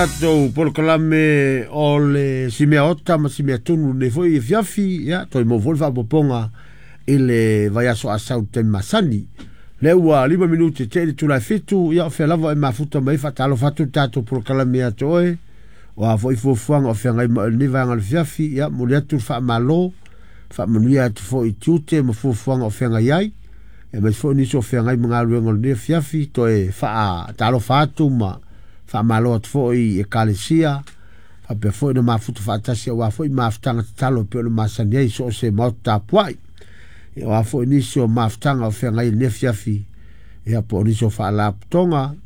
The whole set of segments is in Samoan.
Tatou polokalame o le simea ota ma simea tunu nei foi afiafi, ia toe maua foi le faaopoopoga i le vaiaso asau taimi masani. Lea ua 5 minute te i le itula e 7, ia o fea lava e mafuta mai, faatalofa atu le tatou polokalame ia te oe, o a foi fuafuaga o feagai ma oe i lenei vaega o le afiafi, ia momoli atu le faamalo, faamanuia atu foi i tiute ma fuafuaga o feagai ai, aemaise foi nisi o feagai ma galuega o lenei afiafi, toe faatalofa atu ma faamalo atu foi i ekalesia, faapea foi ona mafuta faatasi aua foi mafutaga tatalo e pei ona masani ai so o se maota tapuai. Ia aua foi nisi o mafutaga o feagai i lenei afiafi, ia po o nisi o faalapotopotoga,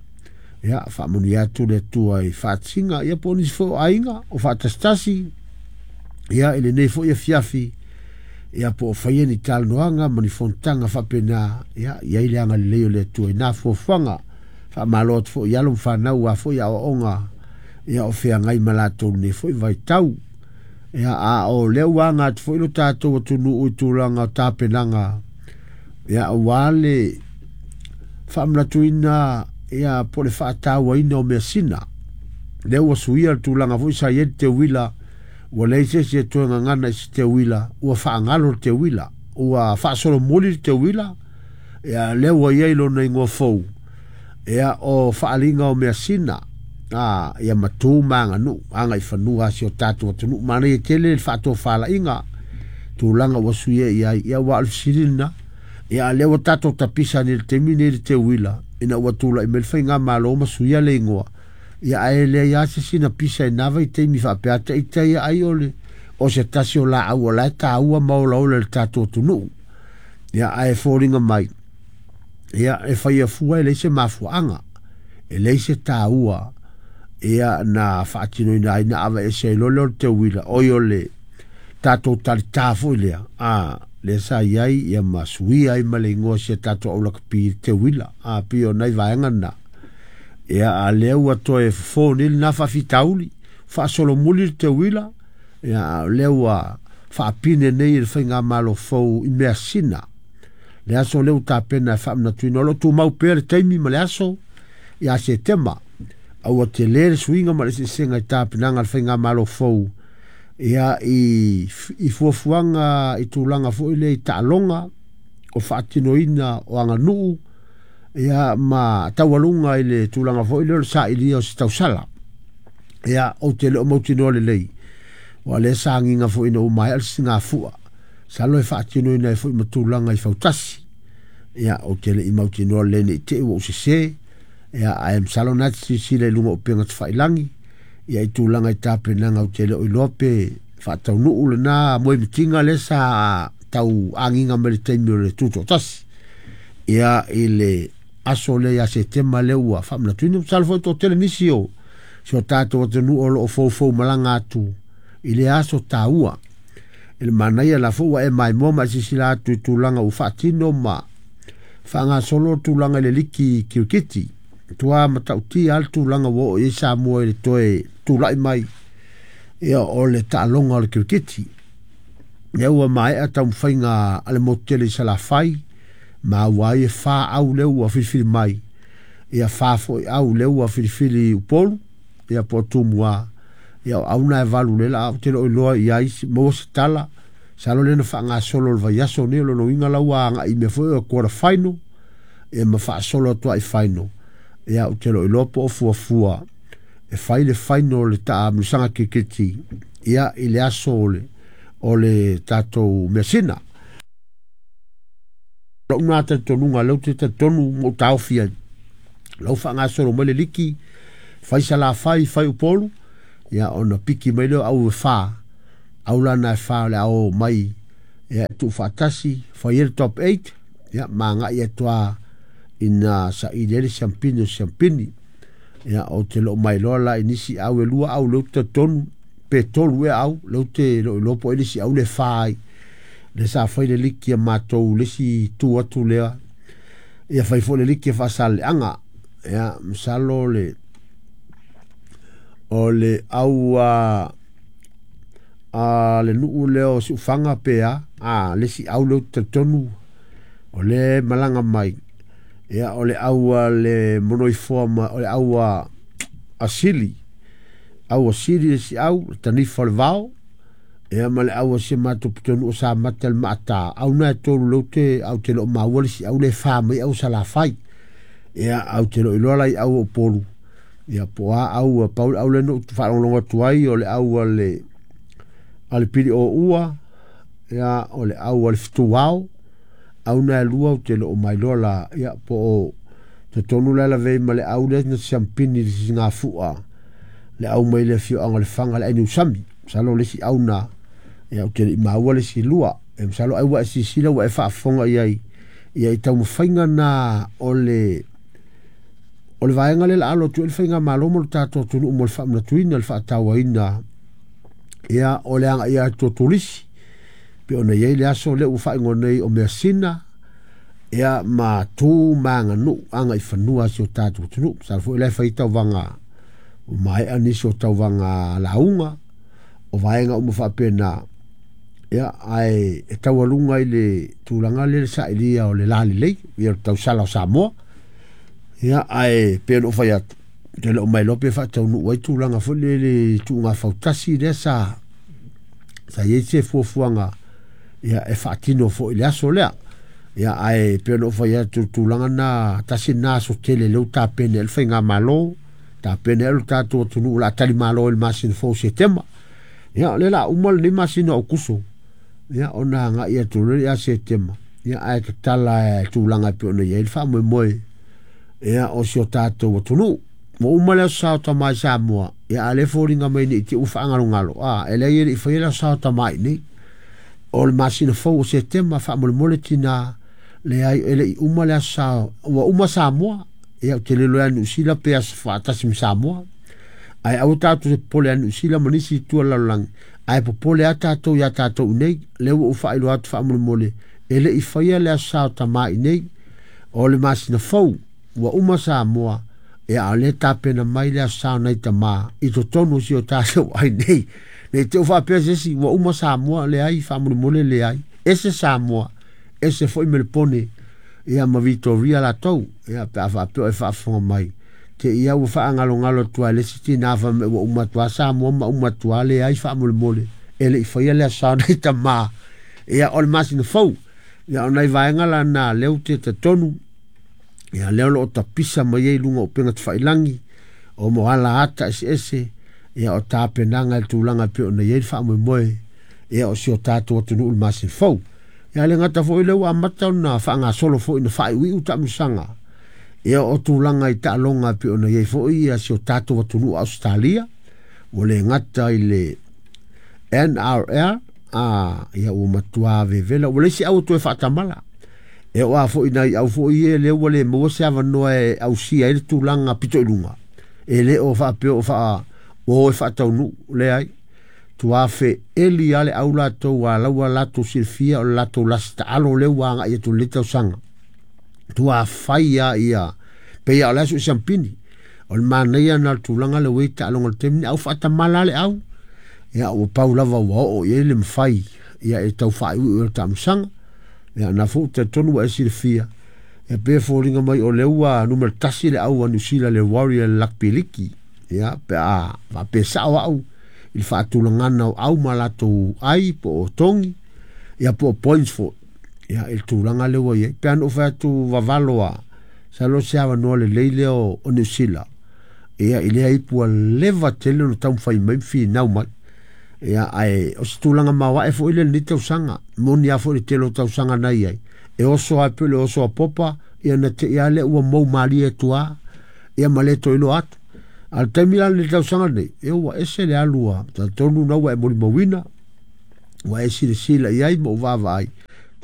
ia faamanuia atu le Atua i faatasiga, ia po o nisi foi o aiga o faatasitasi, ia i lenei foi afiafi, ia po o faia ni talanoaga ma ni fonotaga faapena, ia i ai le agalelei o le Atua i na fuafuaga. Faamalo atu foi i alo ma fanau aua foi aoaoga ia o feagai ma latou lenei foi vaitau. Ia a o lea ua aga atu foi lo tatou atunuu i tulaga o tapenaga, ia aua le faamanatuina ia po o le faatauaina o measina. Lea ua suia le tulaga foi sa i ai le teuila, ua leai se isi e toe gagana i se teuila, ua faagalo le teuila, ua faasolomuli le teuila, ia lea ua i ai lona igoa fou, ia o faaaliga o measina, ia matu ma aganuu, agaifanua a si o tatou atunuu. Manaia tele le faatofalaiga, tulaga ua suia i ai, ia aua o le fesili lena, ia a lea ua tatou tapisa nei i le taimi nei i le teuila, ina ua tulai mai le faigamalo ma suia le igoa, ia ae leai lava se sina pisa i na vaitaimi faapea ata ita ia ai o le o se tasi o laau o la e taua ma olaola i le tatou atunuu. Ia ae foliga mai, ia e faia fua e leai se mafuaaga, e leai se taua, ia na faatinoina ai na aveese ai loa lea o le teuila, oi o le tatou talitā foi lea, lea sa i ai, ia ma suia ai ma le igoa o si a tatou aulakapi i le teuila, pei o nai vaega na. Ia a lea ua toe fofo nei lena faafitauli, faasolomuli le teuila, ia a o lea ua faapine nei e le faigamalo fou i measina. Le aso lea ua tapena e faamanatuina, o lo o tumau pea le taimi ma le aso ia Setema, a ua tele le suiga ma le eseesega i tapenaga a le faigamalo fou, ia i fuafuaga i tulaga foi lea i taaloga, o faatinoina o aganuu, ia ma taualuga i le tulaga foi lea o le sailia o se tausala. Ia, ou te le o mautinoa lelei, aua o lea sa agiga foi ina ua maea le sisigafua, masalo e faatinoina ai foi ma tulaga i fautasi. Ia, ou te le i mautinoa lelei ne i te i ua ou sese, ia, ae masalo na te silasila i luga o upega tafailagi, ia i tulaga i tapenaga ou te le o iloa pe faataunuu lena moemitiga lea sa tau agiga mai le taimi o le tutoatasi. Ia, i le aso lea ia Setema lea ua faamanatuina, masalo foi toatele nisi o si o tatou atunuu o lo o foufou malaga atu i lea aso taua. I le manaia la foi ua e maimoa ma e silasila atu i tulaga ua faatino ma faagasolo le tulaga i le liki kirikiti. Matua matautia lava le tulaga ua oo i ai Samoa i le toe tulai mai ia o le taaloga o le kirikiti. Lea ua maea taumafaiga a le motu tele i Salafai, maua ai e 4 au lea ua filifili mai, ia 4 foi au lea ua filifili i Upolu, ia po o Tumua, ia o au na e 8 lea la ou te le o iloa i ai maua se tala, masalo lea na faagasolo i le vaiaso nei, o lona uiga la ua agai i mea foi o quarter final, ia ma faasolo atu ai i final, ia ou te le o iloa po o fuafua e fai le final o le taamilosaga kirikiti, ia i le aso o le tatou measina. Lou na talitonuga, lea ou te talitonu ma ou taofi ai, lau faagasolo mai le liki, fai Salafai, fai Upolu, ia ona piki mai lea o au e 4, au la na e 4 o le a o mai, ia tuufaatasi, fai ai le top 8, ia ma agai atu lava ina saili ai le siampini o siampini. Ia, ou te le o mailoa la i nisi au e 2 au lea ou te talitonu, pe 3 ea au, lea ou te le o iloa po o ai le isi au le 4 ai. Lea sa fai le liki a matou le isi tu atu lea, ia fai foi le liki a Faasaleleaga. Ia, masalo le o le au a le nuu lea o Siufaga pe a, le isi au lea ou te talitonu o le malaga mai, ia o le au a le Monoifoa ma o le au a Sili. au a sili le siau le tanifa o le vao ia ma le au a si matou pitonuu o Samata le maata au na e tolu lea ou te au te le o maua le siau le fa mai au Salafai ia au te le o iloa la i au o Upolu ia po o a au pau le au lea na ou faalogologo atu ai o le au a le pili o ua ia o le au a le fetuao au na e lua ou te le o mailoa la ia po o totonu la lavei ma le au lea na siampini i le sisigafua le au mai le afioaga o le Faga le Ainiusami masalo le isi au na ia ou te le i maua le isi lua e masalo ai ua e silasila ua e faafofoga i ai ia i taumafaiga na o le vaega lea la alo atu ai le faigamalo mo le tatou atunuu mo le faamanatuina le faatauaina ia o le agaia atu o turisi pe ona i ai le aso lea ua faaigoa nei o measina ia ma tu ma aganuu aga i fanua si o tatou atunuu. Masalo foi la e fai tauvaga ua maea nisi o tauvaga lauga o vaega uma faapena ia ae e taualuga i le tulaga lea le sailia o le lalelei ia le tausala o Samoa ia ae pei ona ou fai atu te le o mailoa pe faataunuu ai tulaga foi lea le tuuga fautasi lea sa i ai se fuafuaga ia e faatino foi i le aso lea ia ae pei ona ou fai atu tulaga na tasi na aso tele lea ua tapena ai le faigamalo tapena ai lo tatou atunuu o le a talimalo i le masina fou o Setema ia o lea o le a uma lenei masina o Aokuso ia ona agai atu loa ia Setema ia ae tatala e tulaga e pei ona i ai le faamoemoe ia o si o tatou atunuu. Ua uma le aso Sa o Tama i Samoa ia a le foliga mai nei te ua faagalogalo e leai e le i faia le aso Sa o Tama i nei o le masina fou o Setema faamolemole tina leai e le i uma le aso Sa ua uma Samoa ia ou te le iloa ia Niu Sila pe aso faatasi ma Samoa ae aua tatou te popole ia Niu Sila ma nisi itu o le lalolagi ae popole lava tatou ia tatou i nei lea ua ou faailoa atu faamolemole e le i faia le aso Sa o Tama i nei o le masina fou ua uma Samoa ia a o lea tapena mai le aso Sa o nai tama i totonu o si o tatou ai nei nei te u faapea se isi ua uma Samoa leai faamolemole leai ese Samoa ese foi Melepone ia ma Vitoria latou ia pe a faapea o e faafofoga mai te ia ua faagalogalo atu ai le isi tina fai mai ua uma atu lava Samoa ma uma atu lava leai faamolemole e le i faia le aso Sa o nai tama ia o le masina fou ia o nai vaega la na lea ou te talitonu ia lea o lo o tapisa mai ai luga o upega tafailagi o mo ala ata eseese ia o tapenaga i le tulaga e pei ona i ai le faamoemoe ia o si o tatou atunuu i le masina fou. Ia le gata foi lea ua amata ona faagasolo foi na faaiuiu taamilosaga ia o tulaga i taaloga e pei ona i ai foi ia si o tatou atunuu Ausetalia ua le gata i le NRL ia ua matua vevela ua leai se au e toe faatamala e oo lava foi nai au foi ia lea ua le maua se avanoa e ausia ai le tulaga pito i luga e le o faapea o ua o e faataunuu leai tuafe eli lava le au latou a laua latou silafia o le latou lasi taalo lea ua agai atu i lenei tausaga tuafai lava ia pei lava o le aso i siampini o le manaia na o le tulaga lea ua i ai taaloga o le taimi au faatamala le au ia ua pau lava ua oo i ai le mafai ia e tau faaiuiu o le taamilosaga ia na foi ou te talitonu ua e silafia ia pe foliga mai o lea ua numera 1 le au a Niu Sila le Warrior Rugby League ia pe a faapea sao au i le faatulagana o au ma latou ai po o togi ia po o points foi ia i le tulaga lea ua i ai pe a na ou fai atu vavalo a masalo se avanoa lelei lea o Niu Sila ia i lea ipu ua leva tele ona taumafai mai ma finau mai ia ae o se tulaga maoae foi lea i lenei tausaga moni lava foi le tele o tausaga na i ai e oso lava pei o le oso a Popa ia na te i lava lea ua mou malie atu lava ia ma le toe iloa atu a o le taimi la lenei tausaga lenei ia ua ese le alu a talitonu na ua e molimauina ua e silasila i ai ma ou vaavaai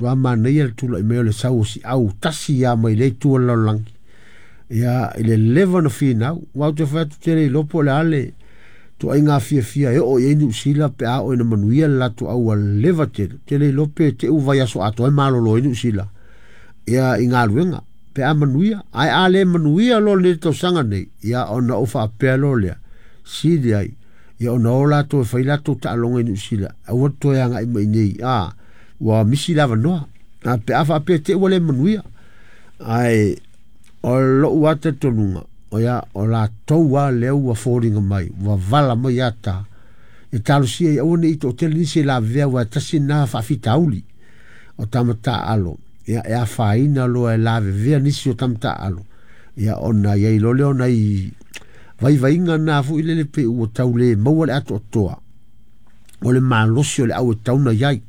matua manaia le tulai mai o le sau o si au tasi lava mai lea itu o le lalolagi ia i le leva ona finau aua ou te fai atu te le iloa po o le a le tuaiga fiafia e oo i ai Niu Sila pe a oo ina manuia le latou au ua leva tele te le iloa pe te u vaiaso atoa e malolo ai Niu Sila ia i galuega pe a manuia ae a le manuia loa lenei tausaga nei ia ona ou faapea loa lea sili ai ia ona o latou e fai latou taaloga i Niu Sila aua le toe agai mai nei ua misi le avanoa pe a faapea te ua le manuia ae o lou lava talitonuga Ia o latou lava lea ua foliga mai ua vala mai ata e talosia ia aua ne i toatele nisi e lavevea, aua e tasi lena faafitauli o tama taaalo. Ia e afaina loa e lavevea nisi o tama taaalo, ia ona i ai loa lea o nai vaivaiga na foi lele pei ua tau le maua le atoatoa o le malosi o le au e tatau ona i ai.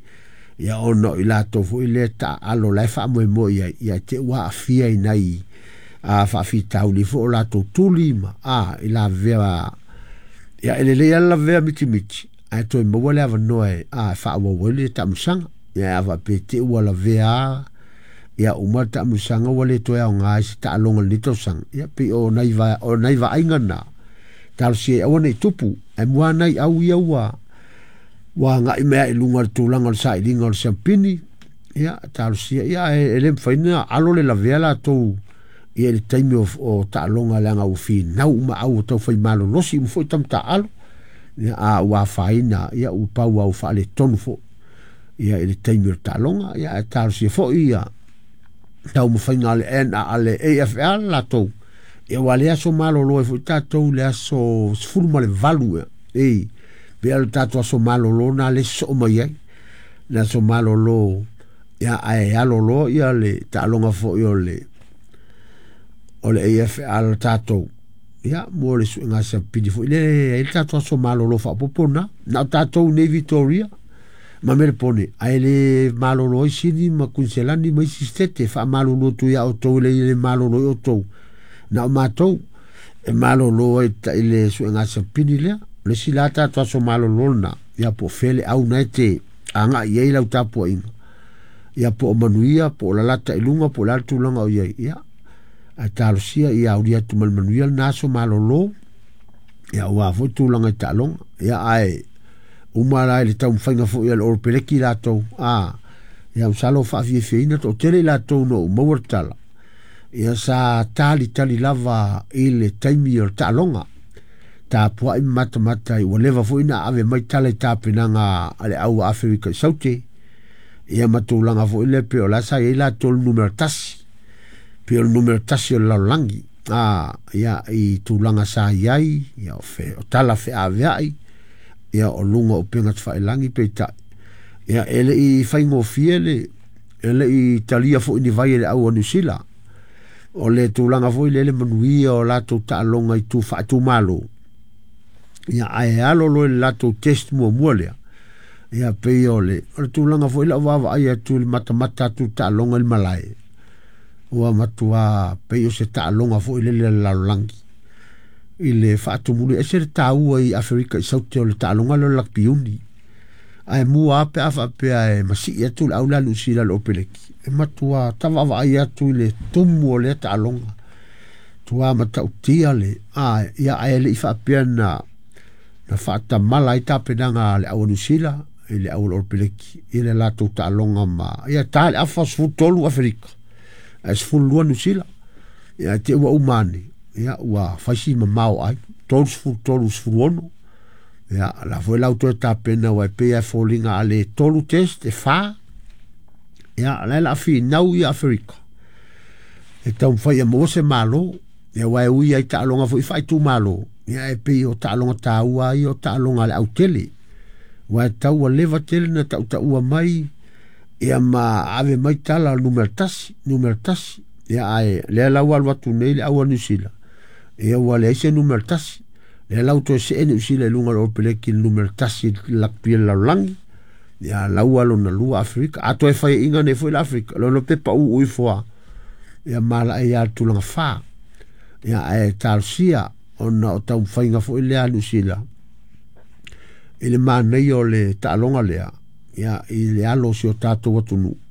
Ia ona o i latou foi lea taaalo la e faamoemoe i ai, ia te ua aafia i nai faafitauli foi o latou tuli ma i lavevea. Ia e lelei lava le lavevea mitimiti ae toe maua le avanoa e faaauau ai le taamilosaga. Ia a faapea te i ua lavea ia uma le taamilosaga ua le toe aoga i se taaloga i lenei tausaga, ia pei o nai vaaiga na talosia ai aua ne i tupu. Ae mua nai au ia ua agai mai i luga o le tulaga o le sailiga o le siampini. Ia talosia ia e le mafai ona alo le lavea latou ia i le taimi o taaloga, leaga ua finau uma au ua taufai malolosi uma foi tama taaalo. Ia a ua afaina ia ua pau lava ua faaletonu foi ia i le taimi o le taaloga. Ia ae talosia foi ia taumafaiga a le AFL latou, ia ua le aso malolo ai foi tatou le aso 18 ia. Pe o le tatou aso malolo na le sosoo mai ai le aso malolo, ia ae alo loa ia le taaloga foi o le AFL tatou, ia mo le suega siampini foi le ai le tatou aso malolo faaopoopo na o tatou nei Victoria ma Melepone, ae le malolo ai Sini ma Kuiniselani ma isi sitete. Faamalulu atu ia outou e le malolo ai outou, na o matou e malolo ai i le suega siampini lea. O le isi la tatou aso malolo lena, ia po o fea le au na e te agai i ai lau tapuaiga, ia po o manuia po o lalata i luga po o le a le tulaga o i ai. Ia ae talosia ia aulia atu ma le manuia lena aso malolo, ia aua foi tulaga i taaloga. Ia ae uma la i le taumafaiga foi a le Oropeleki latou, ia masalo faafiafiaina toatele i latou na ou maua le tala, ia sa talitali lava i le taimi o le taaloga, tapuai ma matamata ua leva foi na ave mai tala i tapenaga a le au a Aferika i Saute, ia ma tulaga foi lea pei o la sa i ai latou le numera 1, pei o le numera 1 o le lalolagi, ia i tulaga sa i ai, ia o tala feaveai, ia o luga o upega tafailagi peitai, ia e le i faigofie le, e le i talia foi ni vai e le au a Niu Sila. O le tulaga foi lea le manuia o latou taaloga i tu faaitumalo, ia ae alo loa i le latou test muamua lea, ia pei o le tulaga foi lau vaavaai atu i le matamata atu i taaloga i le malae, ua matua pei o se taaloga foi lele a le lalolagi i le faatumuli. Ese le taua i Aferika i Saute o le taaloga lea o le lakpi uni, ae mua lava pe a faapea e masii atu le au lea a Niu Sila i le Opeleki, e matua tavaavaai atu i le tumu o lea taaloga, tua matautia le ia ae le i faapea na faatamala ai tapenaga a le au a Niu Sila i le au o le Opeleki i le latou taaloga ma ia ta le afa 13 Aferika ae 12 Niu Sila. Ia te ua uma ane, ia ua faisi mamao ai 33 16. Ia la foi lau toe tapena ua pei e foliga a le 3 test e 4. Ia la la finau i Aferika e taumafai e maua se malo, ia ua e ui ai taaloga foi faaitumalo, ia e pei o taaloga taua ai o taaloga a le autele, ua e tau ua leva tele na tautaua mai, ia ma ave mai tala numera 1, numera 1. Ia ae lea lau alu atu nei le au a Niu Sila, ia ua leai se numera 1. Lea lau toe see Niu Sila i luga o le Opeleki le numera 1 i le lakpi le lalolagi, ia lau alo na lua Aferika. A toe faiaina nei foi le Aferika, lona pepa uu ifo a, ia malae ia le tulaga 4. Ia ae talosia ona o taumafaiga foi lea a Niu Sila i le manaia o le taaloga lea, ia i le alo o si o tatou atunuu.